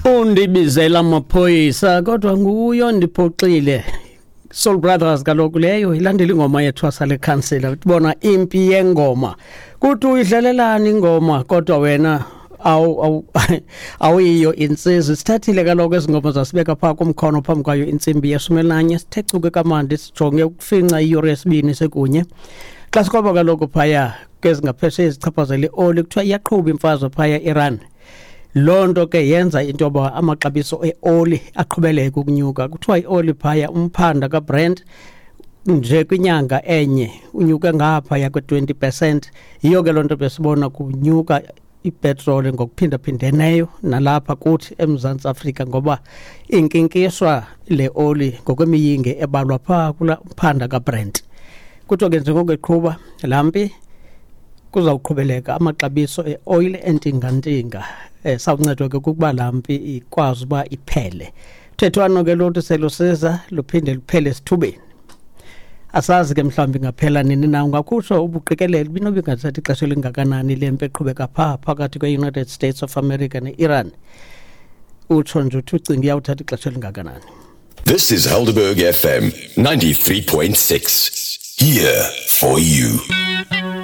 Undibizela amaphoyisa kodwa nguyo ndiphoxile. Soul Brothers kaloku leyo ilandela ingoma yethwasa lekhansela, bona impi yengoma. Kuthi uyidlalelani ingoma kodwa wena awu awuyiyo insizwa. Sithathile kaloku ezi ngoma zasibeka phaa kumkhono phambi kwayo intsimbi yeshumi, sithe chuke kamandi, sijonge ukufinca iyure yesibini sekunye. Xa sikroba kaloku phaya kwezingaphesheya ezichaphazela ioli, kuthiwa iyaqhuba imfazwe phaya Iran. Loo nto ke yenza into yoba amaxabiso eoli aqhubeleke ukunyuka. Kuthiwa ioli phaya, umphanda kaBrent nje kwinyanga enye unyuke ngaphaya kwe-20%. Yiyo ke loo nto besibona kunyuka ipetroli ngokuphindaphindeneyo nalapha kuthi eMzantsi Afrika, ngoba inkinkiswa le oli ngokwemiyinge ebalwa phaa kula mphanda kaBrent. Kuthiwa ke njengoko eqhuba laa mpi, kuzawuqhubeleka amaxabiso eoyile entingantinga. Sawuncedwa ke kukuba laa mpi ikwazi uba iphele. Thethwano ke luthi selusiza luphinde luphele esithubeni. Asazi ke mhlawumbi ingaphela nini na. Ungakhutshwa ubuqikelele binoba ingathatha ixesha elingakanani le mpi eqhubeka phaa phakathi kwe-United States of America ne-Iran? Utsho nje uthi ucinga iyawuthatha ixesha elingakanani? This is Helderberg FM 93.6. Here for you.